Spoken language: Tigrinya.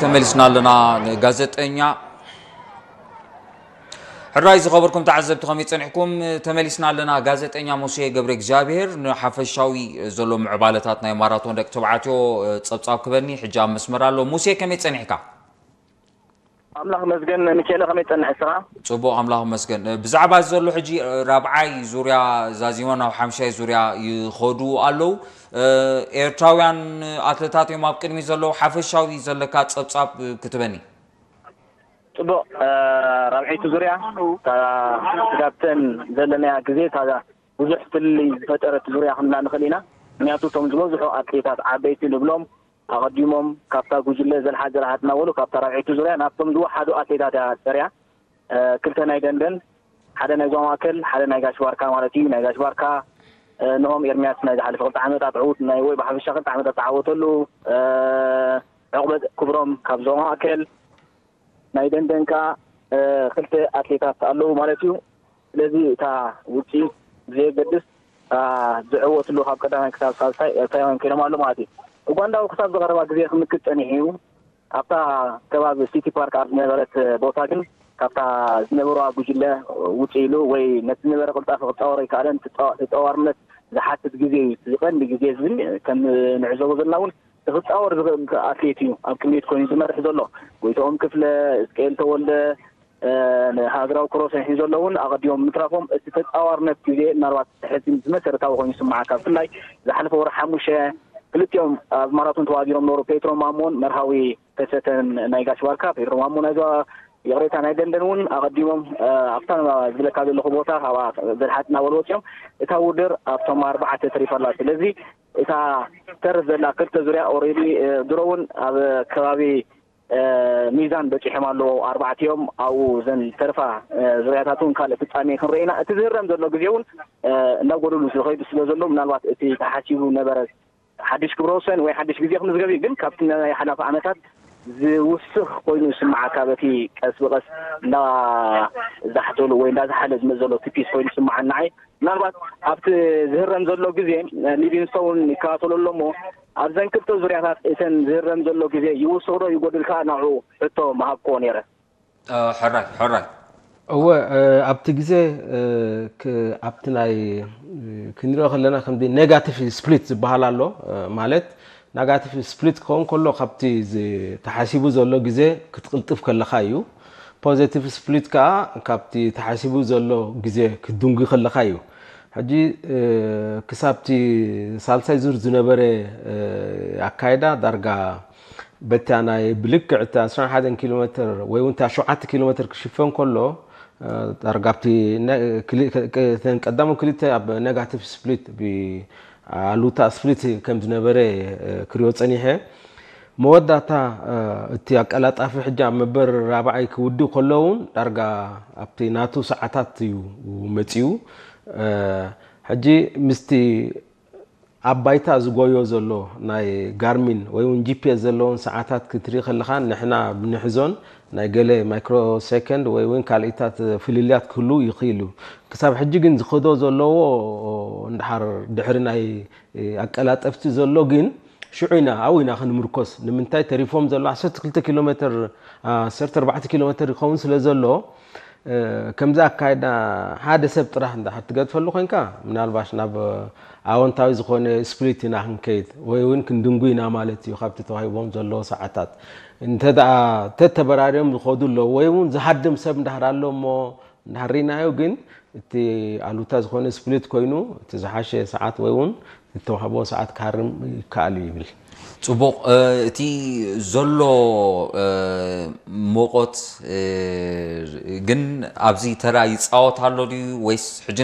ተመሊስና ኣለና። ጋዜጠኛ ሕራይ ዝኸበርኩም ተዓዘብቲ ከመይ ጸኒሕኩም? ተመሊስና ኣለና። ጋዜጠኛ ሙሴ ገብረ እግዚኣብሔር ንሓፈሻዊ ዘሎ ምዕባለታት ናይ ማራቶን ደቂ ተባዕትዮ ጸብጻብ ክበኒ ሕጂ ኣብ መስመር ኣሎ። ሙሴ ከመይ ጸኒሕካ? ኣምላኽ መስገን። ሚካኤለ ከመይ ጸንሕ ስራ? ጽቡቕ ኣምላኽ መስገን። ብዛዕባ ዘሎ ሕጂ ራብዓይ ዙርያ ዛዚሞም ናብ ሓምሻይ ዙርያ ይኸዱ ኣለዉ። ኤርትራውያን ኣትለታት እዮም ኣብ ቅድሚ ዘለዉ። ሓፈሻዊ ዘለካ ጸብጻብ ክትበኒ? ጽቡቕ። ራብዐይቲ ዙርያ ካብተን ዘለናያ ግዜ እታ ብዙሕ ፍልልይ ዝፈጠረት ዙርያ ክንብላ ንኽእል ኢና። ምክንያቱ እቶም ዝበዝሑ ኣትሌታት ዓበይቲ ንብሎም ኣቐዲሞም ካብታ ጉጅለ ዘልሓ ዘልሓት እናበሉ ካብታ ራብዐይቲ ዙርያ ናብቶም ዝወሓዱ ኣትሌታት እያ ጸርያ። ክልተ ናይ ደንደን፣ ሓደ ናይ ዞባ ማእከል፣ ሓደ ናይ ጋሽ ባርካ ማለት እዩ። ናይ ጋሽ ባርካ ንሆም ኤርሚያስ ናይ ዝሓለፈ ክልተ ዓመታት ዕዉት ናይ ወይ ብሓፈሻ ክልተ ዓመታት ዝተዓወተሉ፣ ዕቑበ ክብሮም ካብ ዞባ ማእከል፣ ናይ ደንደን ከኣ ክልተ ኣትሌታት ኣለዉ ማለት እዩ። ስለዚ እታ ውፅኢት ብዘየገድስ ዝዕወትሉ ካብ ቀዳማይ ክሳብ ሳልሳይ ኤርትራውያን ኮይኖም ኣሎ ማለት እዩ። ኡጋንዳዊ ክሳብ ዝቐረባ ግዜ ክምክት ጸኒሑ እዩ። ኣብታ ከባቢ ሲቲ ፓርክ ኣብ ዝነበረት ቦታ ግን ካብታ ዝነበረዋ ጉጅለ ውፅእ ኢሉ ወይ ነቲ ዝነበረ ቅልጣፈ ክፃወር ኣይከኣለን። ተፃዋርነት ዝሓትት ግዜ እዩ። እዚ ቀንዲ ግዜ እዚ ግን ከም ንዕዘቦ ዘለና እውን ክፃወር ዝኽእል ኣትሌት እዩ ኣብ ቅድሚት ኮይኑ ዝመርሕ ዘሎ። ጎይትኦም ክፍለ፣ እስቅኤል ተወልደ፣ ንሃገራዊ ክሮስ ሒዞ ኣሎ እውን ኣቐዲሞም ምትራፎም እቲ ተፃዋርነት ግዜ ምናልባት ሕዚ መሰረታዊ ኮይኑ ይስምዓካ። ብፍላይ ዝሓለፈ ወርሒ ሓሙሽተ ክልቲኦም ኣብ ማራቶን ተዋዲሮም ነበሩ። ፔትሮ ማሞን መርሃዊ ከሰተን ናይ ጋሽ ባርካ፣ ፔትሮ ማሞ ናይ ዞባ ይቕሬታ ናይ ደንደን እውን ኣቐዲሞም ኣብታ ዝብለካ ዘለኹ ቦታ ካብኣ ዘድሓት እናበሉ ወፂኦም እታ ውድድር ኣብቶም ኣርባዕተ ተሪፋ ኣላ። ስለዚ እታ ተርፍ ዘላ ክልተ ዙርያ ኦሬዲ ድሮ እውን ኣብ ከባቢ ሚዛን በፂሖም ኣለዉ ኣርባዕቲኦም ኣብኡ ዘን ተርፋ ዙርያታት እውን ካልእ ፍፃሜ ክንርኢ ኢና። እቲ ዝህረም ዘሎ ግዜ እውን እናጎደሉ ዝኸይዱ ስለ ዘሎ ምናልባት እቲ ተሓሲቡ ነበረ ሓድሽ ክብረ ወሰን ወይ ሓድሽ ግዜ ክምዝገብ እዩ። ግን ካብቲ ናይ ሓላፊ ዓመታት ዝውስኽ ኮይኑ ይስምዓካ በቲ ቀስ ብቐስ እንዳዛሕተሉ ወይ እንዳዝሓለ ዝመፅ ዘሎ እቲ ፒስ ኮይኑ ይስምዓኒ ንዓይ። ምናልባት ኣብቲ ዝህረም ዘሎ ግዜ ሊቪንግስቶን ይከታተሎ ኣሎ እሞ ኣብዘን ክልተ ዙርያታት እተን ዝህረም ዘሎ ግዜ ይውስኽ ዶ ይጎድል ከዓ ናብኡ ሕቶ ምሃብክዎ ነይረ። ሕራይ ሕራይ እወ ኣብቲ ግዜ ኣብቲ ናይ ክንሪኦ ከለና ከምዚ ኔጋቲቭ ስፕሊት ዝበሃል ኣሎ። ማለት ናጋቲቭ ስፕሊት ክኸውን ከሎ ካብቲ ተሓሲቡ ዘሎ ግዜ ክትቅልጥፍ ከለካ እዩ። ፖዘቲቭ ስፕሊት ከዓ ካብቲ ተሓሲቡ ዘሎ ግዜ ክትድንጉ ከለካ እዩ። ሕጂ ክሳብቲ ሳልሳይ ዙር ዝነበረ ኣካይዳ ዳርጋ በታ ናይ ብልክዕ እቲ ዓሰርተ ሓደ ኪሎ ሜትር ወይ እውን እታ ሸውዓተ ኪሎ ሜትር ክሽፈን ከሎ ዳርጋ ኣብቲ ቀዳሞት ክልተ ኣብ ኔጋቲቭ ስፕሊት ብኣሉታ ስፕሊት ከም ዝነበረ ክሪኦ ፀኒሐ። መወዳእታ እቲ ኣቀላጣፊ ሕጂ ኣብ መበል ራብዓይ ክውድእ ከሎ እውን ዳርጋ ኣብቲ ናቱ ሰዓታት እዩ መፂኡ። ሕጂ ምስቲ ኣብ ባይታ ዝጎዮ ዘሎ ናይ ጋርሚን ወይ እውን ጂፒኤስ ዘለዎን ሰዓታት ክትርኢ ከለኻ ንሕና ብንሕዞን ናይ ገለ ማይክሮ ሴከንድ ወይ እውን ካልኢታት ፍልልያት ክህሉ ይኽእል እዩ። ክሳብ ሕጂ ግን ዝኸዶ ዘለዎ እንድሓር ድሕሪ ናይ ኣቀላጠፍቲ ዘሎ ግን ሽዑ ኢና ኣብኡ ኢና ክንምርኮስ። ንምንታይ ተሪፎም ዘሎ ዓሰርተ ክልተ ኪሎ ሜትር ዓሰርተ ኣርባዕተ ኪሎ ሜትር ይኸውን ስለ ዘሎ ከምዚ ኣካይዳ ሓደ ሰብ ጥራሕ እንድሕር ትገድፈሉ ኮይንካ ምናልባሽ ናብ ኣወንታዊ ዝኾነ ስፕሊት ኢና ክንከይድ ወይ እውን ክንድንጉ ኢና ማለት እዩ ካብቲ ተዋሂቦም ዘለዎ ሰዓታት። እንተ ደኣ ተተበራርዮም ዝኸዱ ኣለዉ ወይ እውን ዝሃድም ሰብ እንድሕር ኣሎ እሞ እንድሕር ርኢናዮ ግን እቲ ኣሉታ ዝኾነ ስፕሊት ኮይኑ እቲ ዝሓሸ ሰዓት ወይ እውን ዝተዋህቦ ሰዓት ክሃርም ይከኣል እዩ ይብል። ጽቡቕ። እቲ ዘሎ ሞቆት ግን ኣብዚ ተራ ይጻወት ኣሎ ድዩ ወይስ ሕጂ